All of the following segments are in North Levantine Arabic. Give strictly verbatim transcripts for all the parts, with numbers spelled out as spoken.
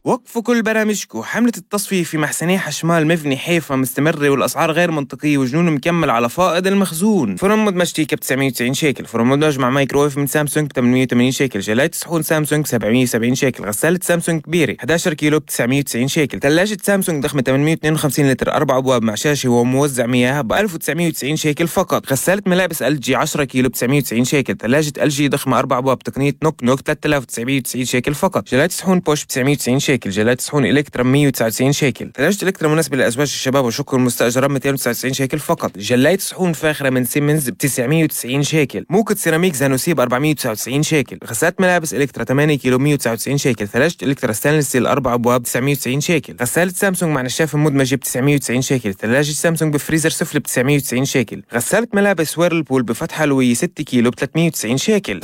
وقفوا كل برامجكم. حملة التصفية في محسني حشمال مفني حيفا مستمرة والأسعار غير منطقية وجنون مكمل على فائض المخزون. فرن مدمج تيكا ب تسعمية وتسعين شيكل، فرن مدمج مع مايكرويف من سامسونج ب ثمانمية وثمانين شيكل، جلاية صحون سامسونج سبعمية وسبعين شيكل، غسالة سامسونج كبيرة إحدى عشر كيلو ب تسعمية وتسعين شيكل، ثلاجة سامسونج ضخمة ثمانمية واثنين وخمسين لتر أربع أبواب مع شاشة وموزع مياه ب ألف وتسعمية وتسعين شيكل فقط، غسالة ملابس إل جي عشرة كيلو ب تسعمية وتسعين شيكل، ثلاجة إل جي ضخمة أربع أبواب تقنية نوك نوك ثلاثة آلاف وتسعمية وتسعين شيكل فقط، جلاية صحون بوش ب تسعمية وتسعين شيكل، جلاية صحون إلكترا مية وتسعة وتسعين شيكل، ثلاجة إلكترا مناسبة لأزواج الشباب وشكر المستأجرة مئتين وتسعة وتسعين شيكل فقط، جلاية صحون فاخرة من سيمنز ب تسعمية وتسعين شيكل، موكة سيراميك زانوسي ب أربعمية وتسعة وتسعين شيكل، غسالة ملابس إلكترا ثمانية كيلو مية وتسعة وتسعين شيكل، ثلاجة إلكترا ستانلس ستيل أربع أبواب تسعمية وتسعين شيكل، غسالة سامسونج مع نشافة مدمجة ب تسعمية وتسعين شيكل، ثلاجة سامسونج بفريزر سفلي ب تسعمية وتسعين شيكل، غسالة ملابس ويرلبول بفتحة لوية ستة كيلو ب ثلاثمية وتسعين شيكل.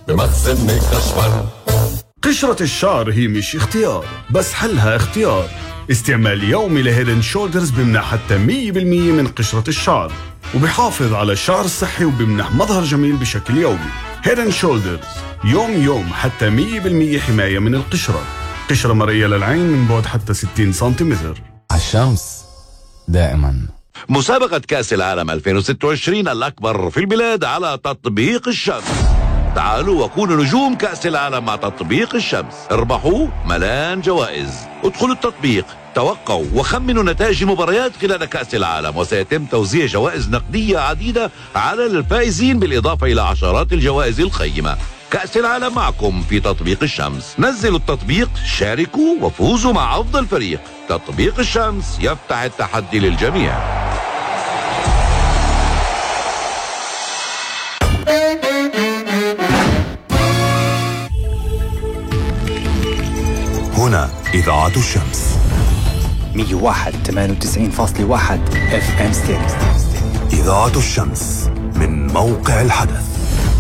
بمخزن كشمال. قشرة الشعر هي مش اختيار بس حلها اختيار. استعمال يومي لهيدن شولدرز بمنح حتى مية بالمية من قشرة الشعر وبيحافظ على الشعر الصحي وبمنح مظهر جميل بشكل يومي. هيدن شولدرز يوم يوم حتى مية بالمية حماية من القشرة. قشرة مرئية للعين من بعد حتى ستين سنتيمتر. الشمس دائما. مسابقة كأس العالم ألفين وستة وعشرين الأكبر في البلاد على تطبيق الشمس. تعالوا وكونوا نجوم كأس العالم مع تطبيق الشمس. اربحوا ملان جوائز. ادخلوا التطبيق، توقعوا وخمنوا نتائج المباريات خلال كأس العالم، وسيتم توزيع جوائز نقدية عديدة على الفائزين بالإضافة إلى عشرات الجوائز القيمة. كأس العالم معكم في تطبيق الشمس. نزلوا التطبيق، شاركوا وفوزوا مع أفضل فريق. تطبيق الشمس يفتح التحدي للجميع. هنا إذاعة الشمس مية وواحد ثمانية وتسعين فاصلة واحد اف ام ستيريو. إذاعة الشمس من موقع الحدث.